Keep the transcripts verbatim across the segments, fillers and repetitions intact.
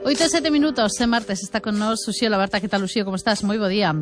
Oito e sete minutos, é martes, está con nós Uxío Labarta. Que tal, Uxío, como estás? Moi bo día.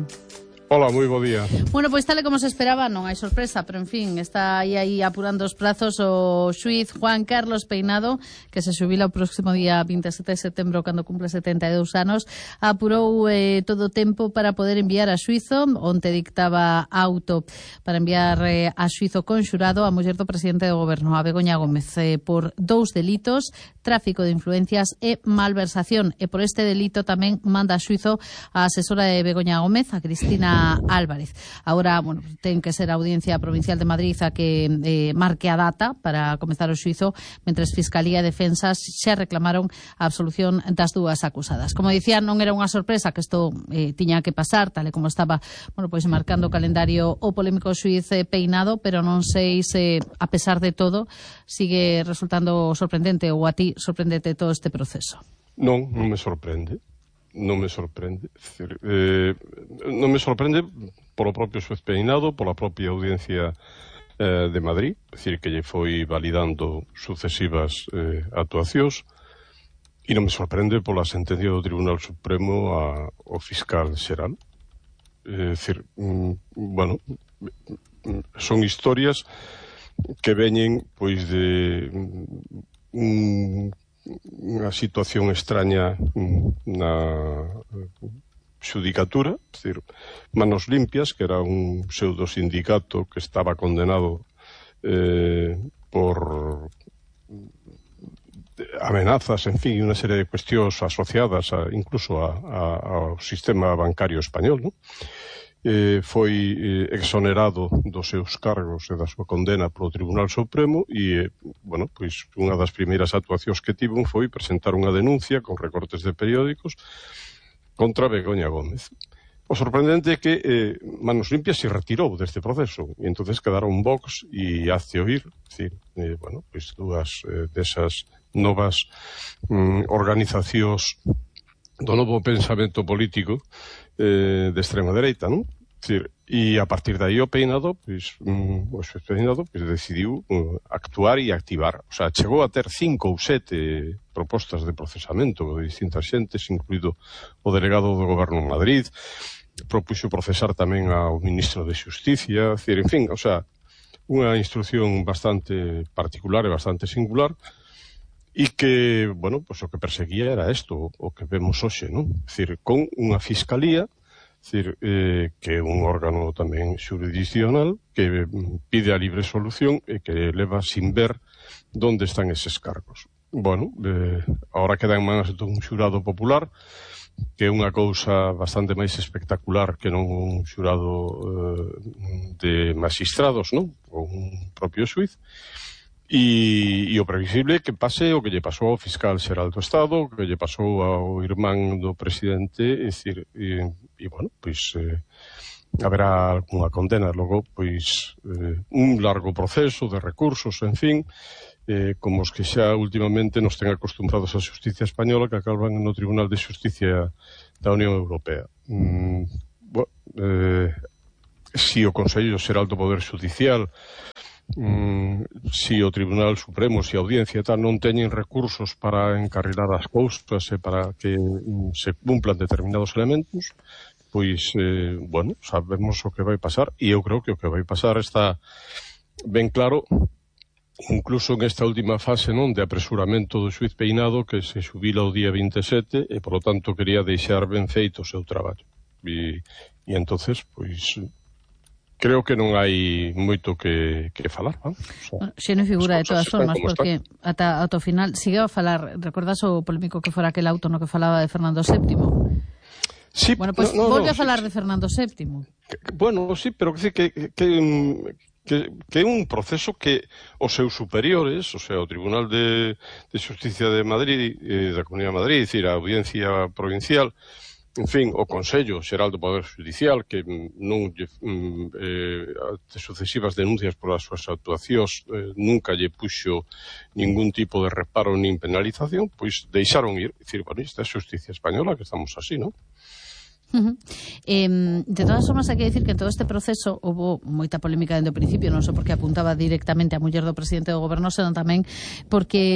Hola, moi bo día. Bueno, pois tal e como se esperaba, non hai sorpresa, pero en fin, está aí, aí apurando os prazos o xuiz Juan Carlos Peinado, que se xubila o próximo día vinte e sete de setembro, cando cumple setenta e dous anos, apurou eh, todo o tempo para poder enviar a xuizo, onte dictaba auto para enviar eh, a xuizo conxurado a muller do presidente do goberno, a Begoña Gómez, eh, por dous delitos, tráfico de influencias e malversación, e por este delito tamén manda a xuizo a asesora de Begoña Gómez, a Cristina Álvarez. Agora, bueno, ten que ser a Audiencia Provincial de Madrid a que eh, marque a data para comezar o xuizo, mentres Fiscalía e Defensas xa reclamaron a absolución das dúas acusadas. Como dicía, non era unha sorpresa que isto eh, tiña que pasar, tal e como estaba, bueno, pois marcando o calendario o polémico xuiz eh, Peinado, pero non sei se, a pesar de todo, sigue resultando sorprendente, ou a ti sorprendete todo este proceso. Non, non me sorprende. Non me sorprende. Decir, eh, non me sorprende polo propio xuiz Peinado, pola propia Audiencia eh, de Madrid, decir, que lle foi validando sucesivas eh, actuacións, e non me sorprende pola sentencia do Tribunal Supremo a, ao fiscal xeral. É dicir, mm, bueno, son historias que veñen pois de un unha situación extraña na xudicatura, é dicir, Manos Limpias, que era un pseudo sindicato que estaba condenado eh, por amenazas, en fin, unha serie de cuestións asociadas a, incluso a, a, ao sistema bancario español, non? Eh, foi eh, exonerado dos seus cargos e da súa condena polo Tribunal Supremo e, eh, bueno, pois unha das primeiras actuacións que tivo foi presentar unha denuncia con recortes de periódicos contra Begoña Gómez. O sorprendente é que eh, Manos Limpias se retirou deste proceso e entonces quedaron Vox e Hazte Oír, decir, eh, bueno, pois dúas eh, desas novas mm, organizacións do novo pensamento político eh, de extrema dereita, non? Decir, e a partir de aí o Peinado, pois, um, o xuiz Peinado, pois, decidiu uh, actuar e activar. O sea, chegou a ter cinco ou sete propostas de procesamento de distintas xentes, incluído o delegado do Goberno en Madrid, propuxo procesar tamén ao ministro de Xusticia, decir, en fin, o sea, unha instrucción bastante particular e bastante singular, e que, bueno, pues o que perseguía era isto, o que vemos hoxe, non? É dicir, con unha fiscalía, é dicir, eh, que é un órgano tamén xurisdiccional, que pide a libre solución e que leva sin ver onde están eses cargos. Bueno, eh, agora queda en manos dun xurado popular, que é unha cousa bastante máis espectacular que non un xurado eh, de magistrados, non? Ou un propio xuiz. E, e o previsible que pase o que lle pasou ao fiscal xeral do Estado, que lle pasou ao irmán do presidente, é dicir, e, e bueno, pois eh, haberá algunha condena, logo, pois eh, un largo proceso de recursos, en fin, eh, como os que xa últimamente nos ten acostumbrados a xusticia española, que acaban no Tribunal de Xusticia da Unión Europea. Mm, bueno, eh, si o Consello Xeral do Poder Xudicial, Mm, si o Tribunal Supremo, si a Audiencia tal, non teñen recursos para encarrilar as cousas e para que mm, se cumplan determinados elementos, pois, eh, bueno, sabemos o que vai pasar, e eu creo que o que vai pasar está ben claro, incluso en esta última fase, non, de apresuramento do xuiz Peinado, que se xubila o día vinte e sete e, polo tanto, quería deixar ben feito o seu traballo. E, e entonces, pois, creo que non hai moito que, que falar, non? O sea, bueno, xe non figura de todas formas, porque ata, ata o final sigue a falar, recordas o polémico que fora aquel auto no que falaba de Fernando séptimo? Sí, bueno, pois pues, no, no, volve no, a falar sí, de Fernando séptimo. Que, bueno, sí, pero que, que, que, que, que é un proceso que os seus superiores, o sea, o Tribunal de, de Xusticia de Madrid, eh, da Comunidade de Madrid, é dicir, a Audiencia Provincial, en fin, o Consello Xeral do Poder Judicial, que non eh, de sucesivas denuncias por as súas actuacións eh, nunca lle puxo ningún tipo de reparo nin penalización, pois deixaron ir, dicir, bueno, esta é a xusticia española, que estamos así, non? Uh-huh. Eh, de todas formas, hai que dicir que en todo este proceso houve moita polémica dende o principio, non só porque apuntaba directamente a muller do presidente do goberno, senón tamén porque